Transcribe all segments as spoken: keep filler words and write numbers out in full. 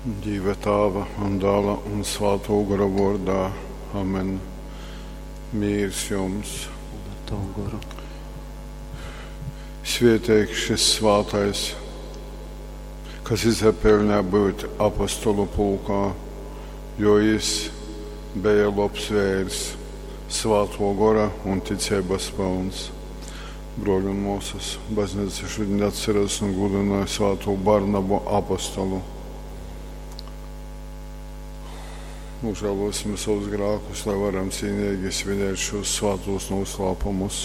Dīva Tāva un Dāla un Svātō Gora vōrdā. Amen. Mīrs jums. Un ar tavu goru. Svieteigs šis svātais, kas izapeļņā būt apostolu pulkā, jo jis beja lobs veirs, svātō gora un ticeibas pylns. Bruoļi un muosys, bazneica šudiņ atceras un gūdynoj svātū Barnabu apostolu. Nožēlosim savus grākus, lai varam cīnīgi svinēt šos svātos noslēpumus.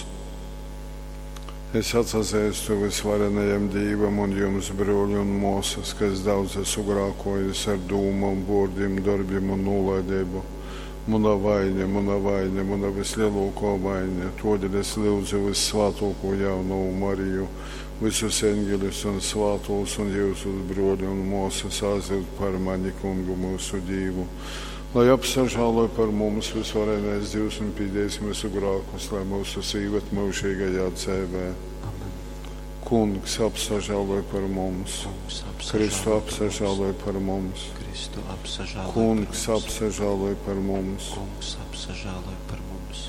Es atsazeistu visvarenajam Dīvam un jums, bruoļi un muosys, ka es daudz esmu grākojis ar dūmom, vuordim, dorbim un nūlaideibu. Muna vaiņa, muna vaiņa, muna vislielākā vaiņa. Todēļ es lyudzu vissvātāko jaunavu Mariju, visus eņģeļus un svātos un jūsus bruoļi un muosys aizlyugt par mani kungu mūsu Dīvu. Lai apsažāloj par mums visvarenais Dievs un pīdēs mūsu grākus, lai mūsu īved mūžīgajā dzīvē. Amen. Kungs apsažāloj par mums, Kungs Kristu apsažāloj par mums. apsažāloj par mums, Kristu apsažāloj par Kungs mums. apsažāloj par mums. Kungs apsažāloj par mums.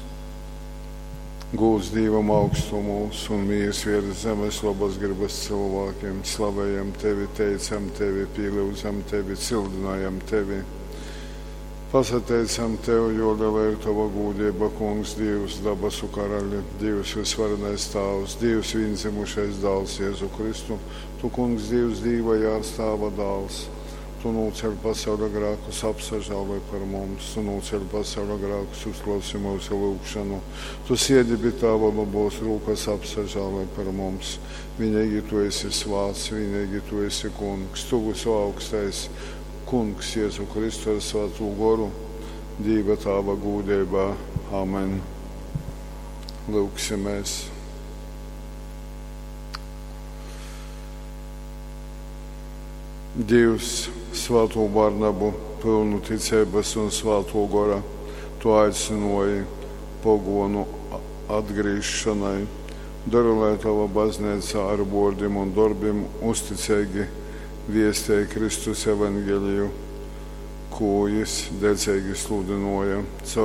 Gūs Dievam augstumos un mīrs virs zemes labas gribas cilvēkiem. Slavējam tevi, teicam tevi, pielūdzam tevi, cildinājam tevi. Pasateicam tev, jo liela ir tava gūdība, Kungs, Dievs, dabasu karaļi, Dievs visvarenais Tāvs, Dievs vienzimušais dāls Jēzu Kristu. Tu, Kungs, Dievs, Dīva jārs Tāva dāls. Tu nūceļ pasaules grākus, apsažāloj par mums, tu nūceļ pasaules grākus, uzklausi mūsu lūgšanu. Tu siedi pie Tāva labos rūkas, apsažāloj par mums. Vienīgi tu esi svāts, vienīgi tu esi kungs, tu visu augstais. Kungs Jēzu Kristu ar Svāto goru, Dīva Tāva gūdībā. Amen. Lūksimies. Dievs, Svāto Barnabu, pilnu ticības un Svāto gora, tu aicināji pogonu atgriešanai. Dari, lai tava baznīca ar vārdiem un darbiem uzticīgi viestēja Kristus evaņģēliju, ko jis dedzīgi sludināja caur